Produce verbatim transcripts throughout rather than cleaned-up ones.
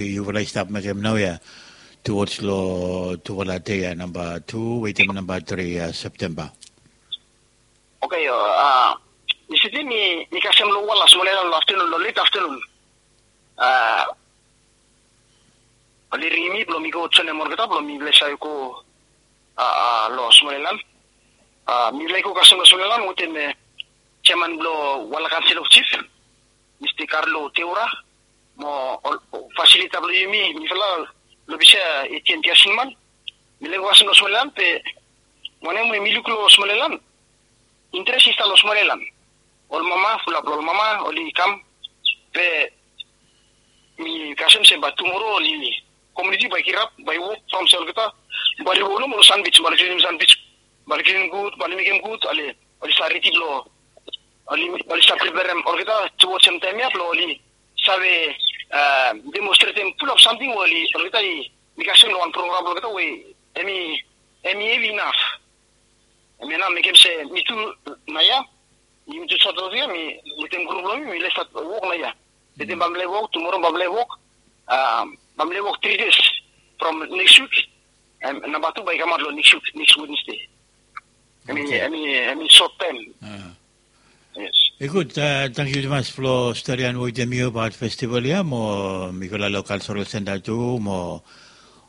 yufala i stap mekem naoia tuwoj long tufala dei ya, namba tu wetem namba tri ya Septemba. Oke, mi siti mi kasem long wala smol yaelan long aftenun, long let aftenun. Oli ringim mi blong mi go joinim olgeta blong mifala i save go long smol yaelan. Mifala i go kasem long smol yaelan wetem jeaman blong wala kansel of jif, mista Karlo Teura, mo fasilita blong yumi, mifala long bisa etian diasinman. Mifala i go kasem long smol yaelan be wanem we mi luk long smol yaelan, interes i stap long smol yaelan. Ol mama, fulap long ol mama oli kam. Be mi kasem se bae tumoro oli komuniti bae i kirap, bae i wok from se olgeta bae oli wok nomo long sanbij, bae oli klinim sanbij, bae oli klinim gud, bae oli mekem gud, oli stap ridi blong oli stap preperem olgeta tuwoj sem taem ya blong oli save demonstretem fulap samting we oli olgeta i mi kasem long wan program blong olgeta we em i hevi inaf. Em ya nao mekem se mi tu naoia, mi tu sot long ya mi wetem grup blong mi mi les stat wok naoia. Wetem bamle wok, tumoro bamle wok, bamle wok tri des from neks wik. Namba tu bae i kamaot long neks wik, neks Wednesde. Em i sot taem. I gud. Tangkiu tumas blong storian wetem yu abaot festival ya mo mi go long cultural center tu mo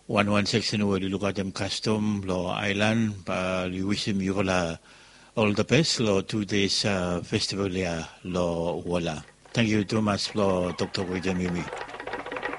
wanwan seksen we oli lukaotem kastom long aelan. Bae oli wisim yufala ol the best long tu days festival ya long wala. Tangkiu tumas blong toktok wetem yumi.